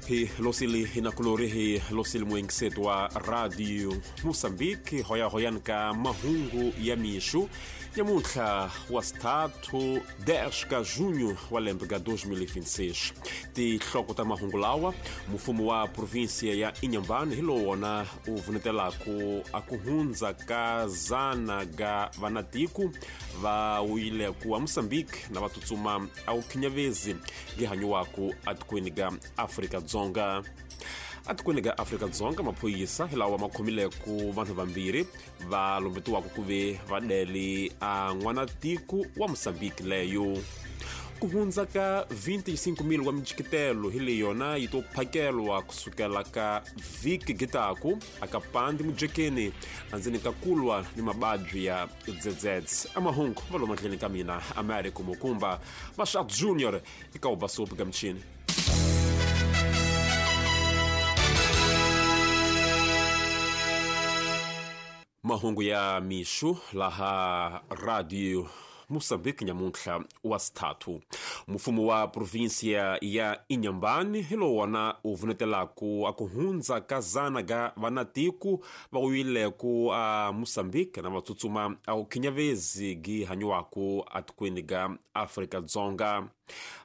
Hi losili hinakulori hi losili muengiseto wa Radio Moçambique, hoyahoyani ka mahungu ya mixo nyamuntlha wa sithathu 10 ka junho wa lembe ka 2026. Tinhloko ta mahungu lawa: mfumo wa provinsia ya Inhambane hi lowu wona u vunetelaku a ku hundza ka zana ga vanatiku va wile ku a Moçambique na va tsutsuma a wu khinyavezi gihanyiwaku atikweni ga Afrika-Dzonga. Atikweni ga Afrika-Dzonga, maphorisa hi lawa ma khomileku vanhu vambirhi va lombetiwaka ku ve va dele a n'wanatiko wa Moçambique leyo. Ku hundza ka 25,000 wa mijikitelo hi leyi yona yi to phakelwa kusukela ka vhiki gitaku aka pandi mujekeni andzeni ka kulwa ni mababyi ya dzedzedze. Amahungu va lo mahlweni ka mina Americo Mukumba Mashak Junior eka ubasopi ka michini. Mahungu ya mixo laha Radio Moçambique nyamuntlha wa sithathu. Mfumo wa provinsia ya Inhambane hi lowu wona u vunetelaku a ku hundza ka zana ga vanatiku va wile ku a Moçambique na va tsutsuma a wu khinyavezi gi hanyiwaku atikweni ga Afrika-Dzonga.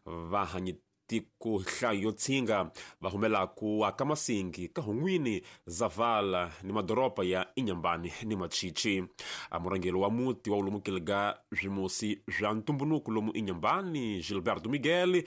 Va hanyi tiko nhlayo yo tshinga va humelaku aka Masingi, ka Hun'wini, Zavala ni madoroba ya Inhambane ni Machichi. A murhangeri wa muti wa ulumukile ga swimusi swa ntumbuluko lomu Inhambane, Gilberto Miguel,